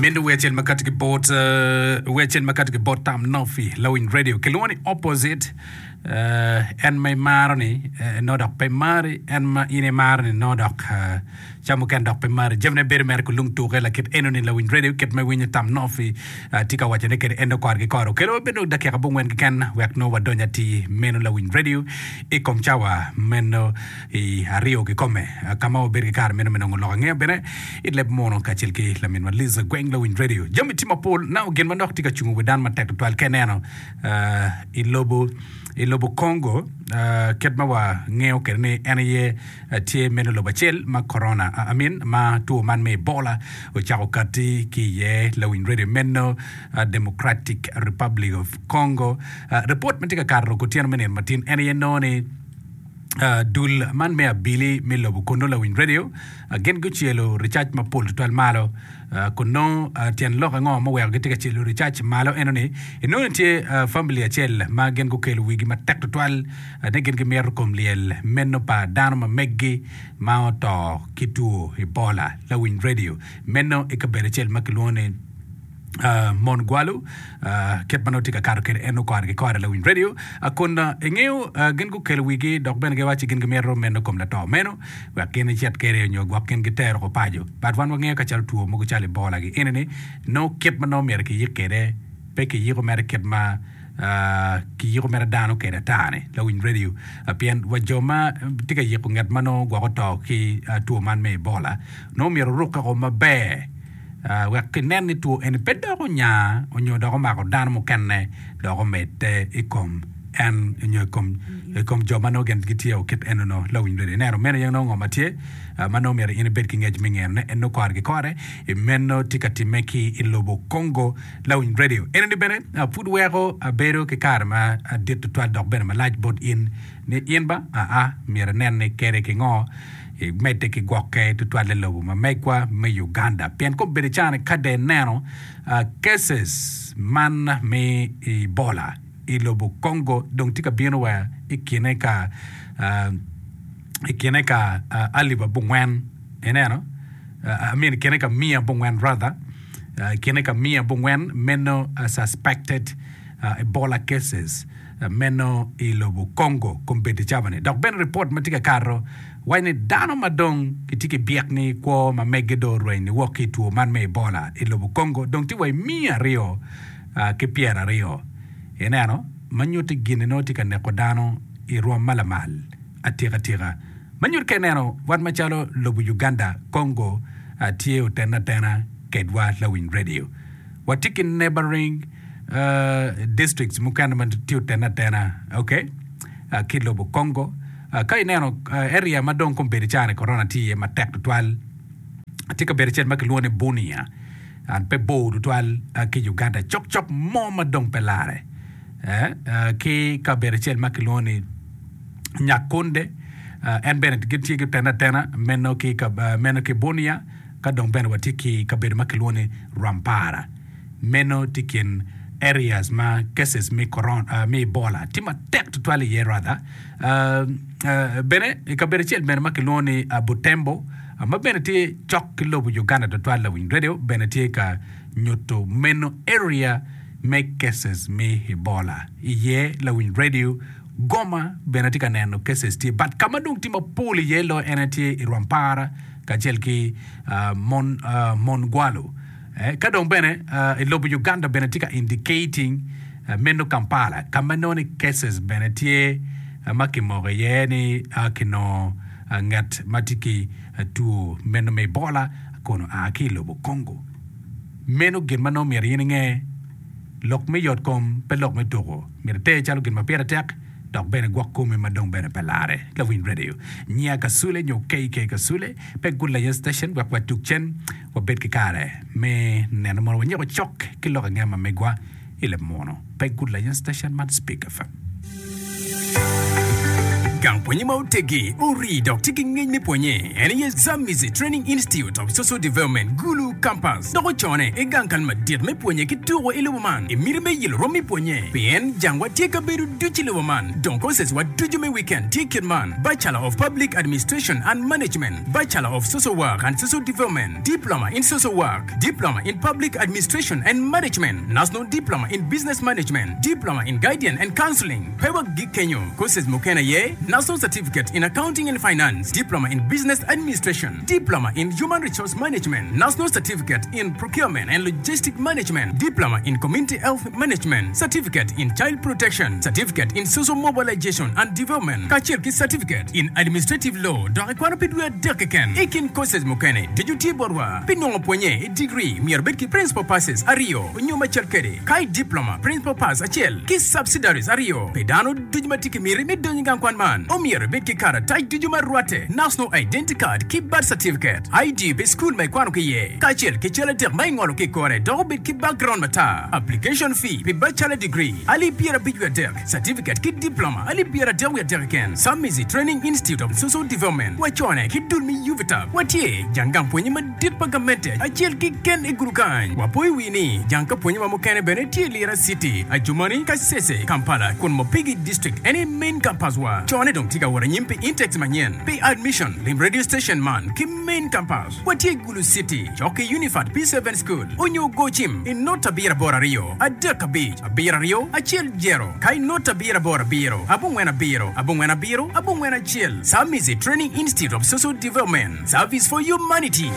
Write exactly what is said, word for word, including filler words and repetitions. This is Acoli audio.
Meno wer acel ma kati ki bot uh, wer acel ma kati ki bot Tam Nofi Lawiny Radio kilwongo ni opposite uh, en ma imaro ni uh, no dok pe mari en ma in imaro ni no dok uh, ca mukene dok pe mari jamine bedo mere kulung tuke lakit eno ni Lawiny Radio kit ma iwinyo Tam Nofi uh, tye ka wacone kede en kore ki kore okelo wabedo dakika abongwen keken wek no wadony atir meno Lawiny Radio i kom cawa meno i aryo kikome uh, ka ma wabedo ki kare meno me nongo lok angeya bene i leb muno kacel ki laminwa Liza Gweng Lawiny Radio jami tye mapol na gin ma dok tye ka cungo wi dano matek tutwal ka ineno uh, i lobo i lobo Congo uh, kit ma wangeyo kwede ni en aye uh, tye meno lobo acel ma corona uh, I mean, ma two man me Ebola ocako kati ki iye Lawiny Radio meno uh, Democratic Republic of Congo uh, report ma tye ka kato kutyeno me nino matin en aye nongo ni Uh, dul man me abili me lobo kono Lawiny Radio uh, gin gucelo ricac mapol tutwal malo uh, kun nongo uh, tyen lok ango ma oweko gitye ka celo ricac malo eno ni inongo ni tye uh, family acel ma gin gukelo wigi matek tutwal uh, ni gin gimito kom lyel meno pa dano ma meggi ma oto ki two Ebola Lawiny Radio meno i kabedo acel ma kilwongo ni Uh, Mon Gwalu uh, kit ma nongo tye ka kato kwede en kore ki kore Lawiny Radio uh, kun uh, ingeyo uh, gin gukelo wigi dok bene giwaco gin gimito meno kom lato meno wek gin icit kwede nyo gwok gin gitero ko paco but wan wangeyo ka calo two mogo calo Ebola gi eni ni nongo kit ma nongo myero kiyik kwede pe kiyiko mere kit ma uh, kiyiko mere dano kwede ata-ni Lawiny Radio uh, pien wa jo ma tye ka yiko nget ma nongo gwok oto ki uh, two man me Ebola nongo myero orukke ko maber Uh, wek kinen ni two eni pe dok onya onyo dok omako dano mukene dok omedde i kom en nyo i kom i kom jo ma nongo gin gitye o kit eno no Lawiny Radio ineno meno aye nongo ngo ma tye uh, ma nongo myero in ibed ki ngec me ngeno en nongo kore ki kore i meno tye ka timme ki i lobo Congo Lawiny Radio eno ni bene uh, pud weko abedo ki kare ma dit tutwal dok bene malac bot in ni in ba aa myero inen ni kede ki ngo imedde ki gwokke tutwal i lobo ma megwa me Uganda pien kobedo cani ka de ineno uh, cases man me Ebola i lobo Congo dong tye ka bino wa i kine ka uh, i kine ka uh, alip abongwen ineno uh, I mean i kine ka mia abongwen rather uh, i kine ka mia abongwen meno uh, suspected uh, Ebola cases uh, meno i lobo Congo kombeddi cabani dok bene report ma tye ka kato waco ni dano ma dong gitye ki byek ni kwo ma meggi do orweny ni wok ki i two man me Ebola i lobo Congo dong tye wa i mia aryo uh, ki pyeraryo ineno ma nyutti gini nongo tye ka neko dano i rwom ma lamal atika tika ma nyutti ka ineno wan macalo lobo Uganda Congo uh, tye otene atena kedwa Lawiny Radio watye ki neighboring uh, districts mukene ma tye otene atena okay uh, ki lobo Congo uh, ka ineno uh, area ma dong kombeddi cani corona tye iye matek tutwal tye kabedo acel ma kilwongo ni Bunia an pe bor tutwal uh, ki Uganda cok cok mo ma dong pe lare eh, uh, ki kabedo acel ma kilwongo ni Nyakunde uh, en bene gitye ki tena atena meno ki, uh, meno ki Bunia ka dong bene watye ki kabedo ma kilwongo ni Rwampara meno tye kin areas ma cases me corona uh, me Ebola tye matek tutwal iye rather uh, uh, bene i kabedo acel bene ma kilwongo ni uh, Butembo uh, ma bene tye cok ki lobo Uganda tutwal Lawiny Radio bene tye ka nyuto meno area me cases me Ebola iye Lawiny Radio Goma bene tye ka neno cases tye but ka ma dong tye mapol iye lo en tye i Rwampara kacel ki uh, Mon, uh, Mongwalu eh, ka dong bene uh, i lobo Uganda bene tye ka indicating uh, meno Kampala ka ma nongo ni cases bene tye uh, ma kimoko iye ni uh, kinongo uh, ngat ma tye ki uh, two meno me Ebola kono a ki i lobo Congo meno gin ma nongo myero in inge lok me yot kom pe lok me tuko myero iter calo gin ma pire tek dok bene gwok komi ma dong bene pe lare Lawiny Radio nyia Kasule nyo K K Kasule pe Good Lion Station wek watuk cen wabed ki kare me neno mono wanyeko cok ki lok angeya ma megwa i leb muno pe Good Lion Station man Speak F M. Gang pwonye ma otegi, ori dok tye ki ngec me pwonye. En aye Zamizi Training Institute of Social Development, Gulu Campus. Dok ocone i gang kal madit me pwonye ki tuko i lobo man. I miti me yelo rom me pwonye. Pien jangwa tye ka bedo ducu i lobo man. Dong courses wa ducu me weekend tye kit man. Bachelor of Public Administration and Management, Bachelor of Social Work and Social Development, Diploma in Social Work, Diploma in Public Administration and Management, National Diploma in Business Management, Diploma in Guidance and Counseling. Pe wagik kenyo. Courses mukene aye National Certificate in Accounting and Finance, Diploma in Business Administration, Diploma in Human Resource Management, National Certificate in Procurement and Logistic Management, Diploma in Community Health Management, Certificate in Child Protection, Certificate in Social Mobilization and Development, kacel ki Certificate in Administrative Law dok ikwano pi dwe adek keken. I kin courses mukene ducu tye botwa. Pi nongo pwonye i degree myero bed ki principal passes aryo nyo macel kwede. Ka i diploma, principal pass acel ki subsidiaries aryo. Pi dano ducu ma tye ki miti me donyo i gang kwan man, omyero ibed ki karatac ducu ma rwatte, National Identity Card ki Birth Certificate, I D pi cukul ma ikwano ki iye, kacel ki cal adek ma ingolo ki i kore dok obed ki background matar. Application fee pi bachelor degree alip pyerabic wiye adek, certificate ki diploma alip pyeradek wiye adek keken. Samizi Training Institute of Social Development wacone ki dul me UVTAB watye jang gang pwonye madit pa gamente acel keken i Gulu kany. Wapoyo wi ni jang ka pwonye wa mukene bene tye i Lira City, Adjumani, Kasese, Kampala kun Mopigi District en aye main campus wa. Cone dong tye ka wot anyim pi intakes manyen pi admission lim radio station man ki main campus watye i Gulu City cok ki Unifat P seven School onyo go cim i not abiro aboro aryo adek abic abiro aryo acel jero ka i not abiro aboro abiro abongwen abiro abongwen abiro abongwen acel. Samizi Training Institute of Social Development, Service for Humanity.